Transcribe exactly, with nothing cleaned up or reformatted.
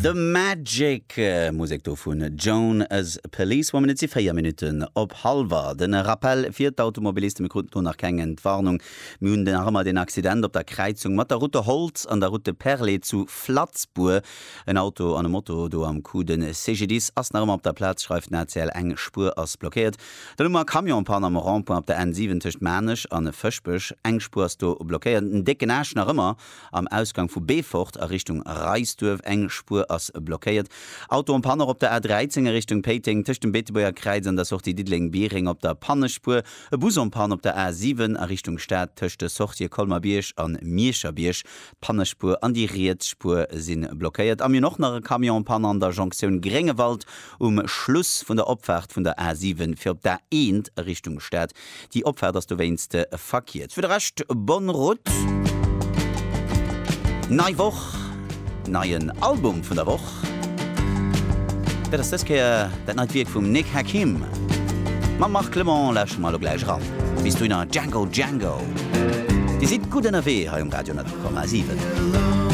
The Magic Musek do vun Joan as Policewoman. Et si véier Minutten op hallwer. Den Rappel fir d'Automobilisten, Mir kruten do nach keng Entwarnung. Mir hunn nach ëmmer den Accident op der Kräizung mat der Route Holtz an der Route Perlé zu Flatzbour. En Auto an e Moto do am Coup. Den C G D I S ass nach ëmmer op der Plaz, schreift den A C L. Eng Spuer ass blockéiert. Dann hu mer e Camion en panne am Rond-point op der N siwen tëscht Maarnech an Fëschbech. Eng Spuer ass do blockéiert. En décken Aascht nach ëmmer am Ausgang vu Beefort a Richtung Reisduerf. Eng Spuer ass blockéiert. Auto en panne och op der A dräizéng a Richtung Péiteng tëscht dem Beetebuerger Kräiz an der Sortie Diddeleng-Biereng op der Pannespuer. E Bus en panne op der A siwen a Richtung Stad tëscht de Sortië Colmer-Bierg an Miescherbierg. D'Pannespuer an déi riets Spuer si blockéiert. A mir hunn och nach e Camion en panne an der Jonktioun Gréngewald um Schluss vun der Opfaart vun der A siwen fir op d'A eent a Richtung Stad. Déi Opfaart ass dowéinst verkéiert. Fir de Rescht, bonne route! Nei Woch, neien Album vun der Woch. Dat ass dës Kéier dat neit Wierk vum Nick Hakim. Mam Marc Clement lauschtere mer elo gläich eran. Bis dohinner, Django Django. Dir sidd gutt ënnerwee hei um Radio honnert Komma siwen.